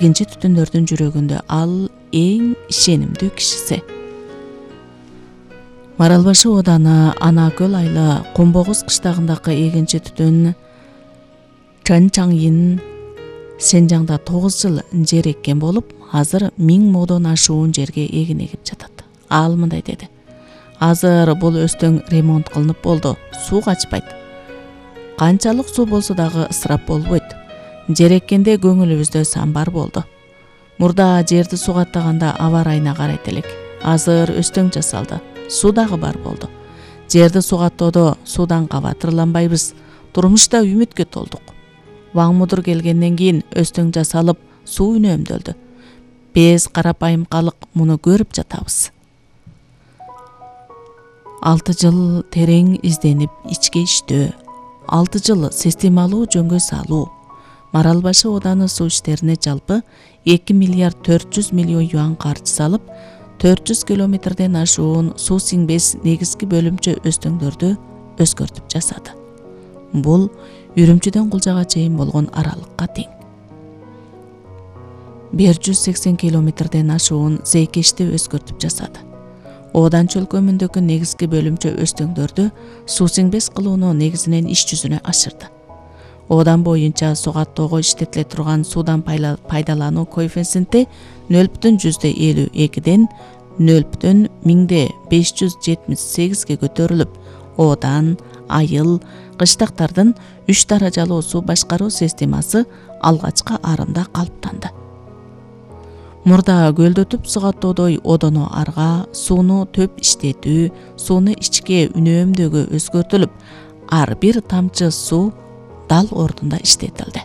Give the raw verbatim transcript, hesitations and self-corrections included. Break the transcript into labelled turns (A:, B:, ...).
A: Экинчи түтүндөрдүн жүрөгүндө ал эң ишенимдүү кишиси. Маралбашы ооданы Ана көл айла Комбогуз кыштагындагы экинчи түтүн Чанчаңин Сенжаңда тогуз жыл жер эккен болуп, азыр миң модон ашуун жерге эгин эгип жатат. Ал мындай деди: азыр бул өстөң ремонт кылынып болду, суу качпайт. Канчалык суу болсо дагы ысырап болбойт. Жер эккенде көңүлүбүздө сан бар болду. Мурда жерди сугаттаганда аба ырайына карайт элек. Азыр өстөң жасалды. Суу дагы бар болду. Жерди сугаттоодо суудан кабатырланбайбыз. Турмушта үмүткө толдук. Ваң мудур келгенден кийин өстөң жасалып, суу үнөмдөлдү. Биз карапайым калык муну көрүп жатабыз. Алты жыл терең изденип ичке иштөө, алты жыл системалуу жөнгө салуу. Маралбашы ооданы суу иштерине жалпы эки миллиард төрт жүз миллион юан каржы салып, төрт жүз километрден ашуун суу сиңбес негизги бөлүмчө өстөңдөрдү өзгөртүп жасады. Бул Үрүмчүдөн Кулжага чейин болгон аралыкка тең. бир жүз сексен километрден ашуун зейкешти өзгөртүп жасады. Оодан чөлкөмүндөгү негизги бөлүмчө өстөңдөрдү суу сиңбес кылууну негизинен иш жүзүнө ашырды. Оодан боюнча сугаттоого иштетиле турган суудан пайдалануу коэффициенти нөл бүтүн жүздө элүү экиден нөл бүтүн миңде беш жүз жетимиш сегизге көтөрүлүп, оодан айыл, кыштактардын үч даражалуу суу башкаруу системасы алгачкы арымда калыптанды. Мурда көлдөтүп сугаттоодой одоно арга, сууну төп иштетүү, сууну ичке үнөөмдөөгө өзгөртүлүп, ар бир тамчы суу дал ордунда иштетилди.